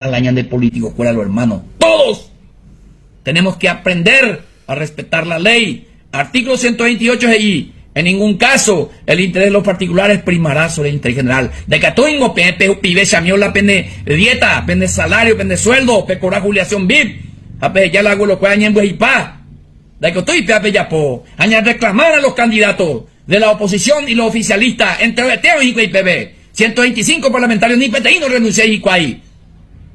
La ñande político kuéra lo hermano. Todos tenemos que aprender a respetar la ley. Artículo 128 he'i, En ningún caso el interés de los particulares primará sobre el interés general. Ndaikatúingo peẽ pehupive chamiola pene dieta, pende salario, pende sueldo, pekora jubilación VIP ha peheja la abuelokuéra ñembyehipa. Ndaikotúi péva pejapo ha ñarreclamar a los candidatos de la oposición y los oficialistas enterovete oĩ hikuái peve. 125 parlamentarios ni peteĩ norrenunciái hikuái.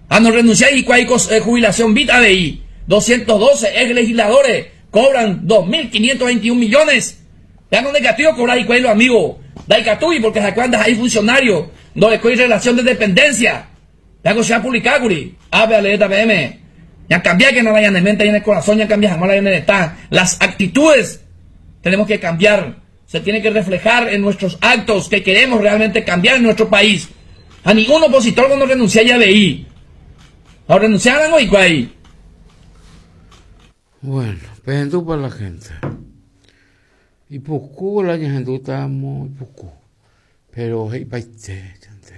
Ha norrenunciái hikuái ko jubilación VIP avei. 212 ex legisladores cobran 2.521 millones. Péva nondekatúi okobra hikuái los amigos. Ndaikatúi porque ha'ekuéra ndaha'éi funcionario, ndorekói relación de dependencia. Péva ko che apublicákuri. Ápe aleéta peẽme. Ñakambiákena la ñane mente, ñane corazón ñakambia hag̃ua la ñane retã. Las actitudes tenemos que cambiar. Se tiene que reflejar en nuestros actos que queremos realmente cambiar en nuestro país. Ha ningún opositor cuando renunciái avei. Ha orrenunciáramo hikuái. Bueno, pehendúpa la gente. Ipuku la ñahendútamo ipuku. Pero he'ipaite ñande.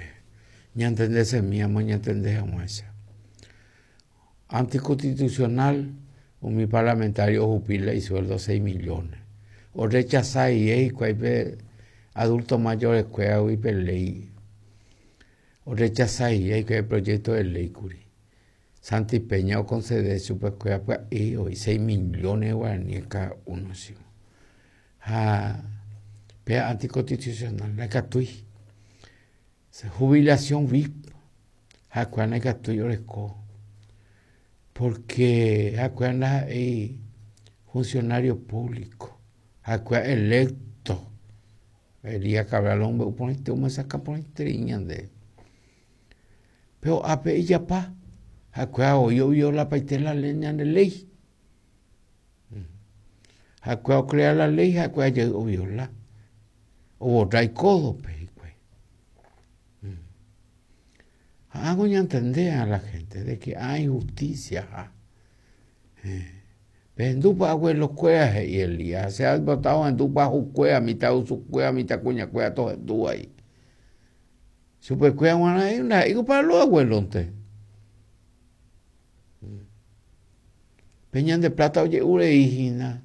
Ñantendesemíamo ñantende hag̃uáicha. Anticonstitucional, umi parlamentario ohupi la isueldo 6 millones. Orrechasa rire hikuái pe adulto mayores kuéragui pe ley. Orrechasa rire hikuái pe proyecto de ley kuri. Santi Peña oconcede chupekuéra pya'e oĩ 6 millones de guaraníes cada uno chivo. Ha pe anticonstitucional ndaikatúi. Jubilación VIP ha'ekuéra ndaikatúi oreko porque ha'ekuéra ndaha'éi funcionario público, ha'ekuéra electo. Elías Cabral omombe'u porãite, omyesakã porãiterei ñandéve. Péro ápe ijapa, ha'ekuéra voi oviolapaite la ñande léi. Ha'ekuéra ocrea la léi, ha'ekuéra jey oviola. Oborra ikódope hikuái. Ha ág̃a oñantende a la gente de que hay justicia ha. Pehendúpa abuelokuéra he'i Elías, che aipota ohendúpa hukuéra, mitãrusukuéra, mitãkuñakuéra tohendúva he'i. Chupekuéra g̃uarã he'i ndaha'éiko para los abuelonte. Pe ñande plata oje'u rei hína.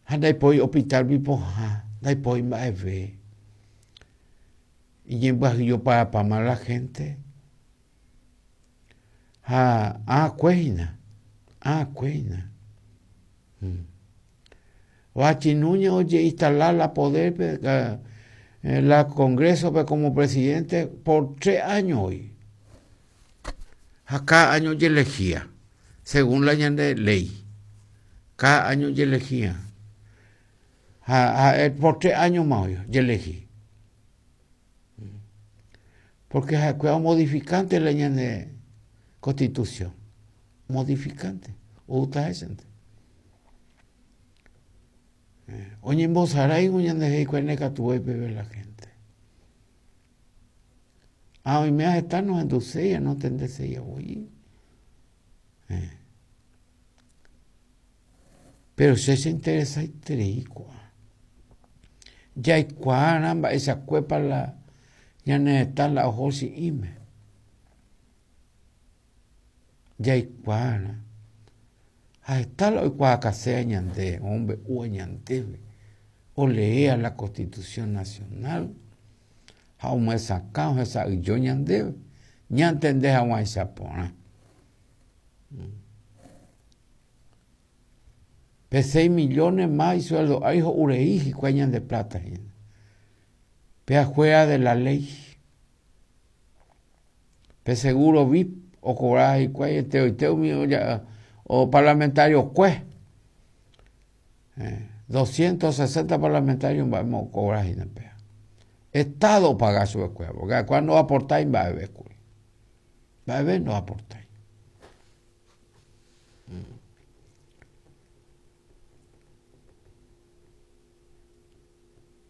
Ha ndaipói hospital-gui pohã, ndaipói mba'eve. Iñembyahyijoparapáma la gente. Ha ãkue hína, ãkue hína. Vachi Núñez ojeinstala la poder-pe, la Congreso-pe como presidente por tres años oĩ. Ha cada año ojelehía, según la ñande ley. Cada año ojelehía. Ha ha'e por tres años más oĩ ojelehi. Porque ha'ekuéra omodificante la ñande constitución. Modificante. Oúta hésente. Oñembosaráivo ñande hikuái nekatuvéi peve la gente. Ha oime heta nohenduséi ha nontendeséi voi. Péro che cheinteresaiterei ko'ã. Jaikuaarã mba'eichakuépa la ñane retã la oho chi'ĩme. Jaikuaarã. Ha heta la oikuaakaséva ñande, omombe'úva ñandéve, oleéva la Constitución Nacional ha omyesakã ohesa'ỹijo ñandéve ñantende hag̃uáicha porã. Pe 6 millones más isueldo ári ho'u rei hikuái ñande plata hína. Pe afuera de la ley. Pe seguro VIP okobraba hikuái enteroite umi o parlamentario kue. 260 parlamentario mba'émo okobra hína péva. Estado opaga chupekuéra, porque ha'ekuéra ndoaportái mba'eve kuri. Mba'eve ndoaportái.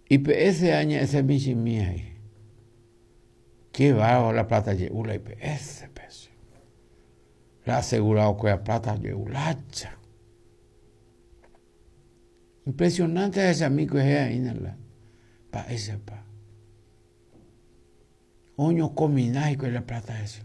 IPS añe'ẽse michĩmi he'i. Qué bárbaro la plata je'u la IPS pe. La asegurado kuéra plata je'u lája. Impresionante ahechami kuehe aína la mba'éichapa. Oñokomina hikuái la plata hese.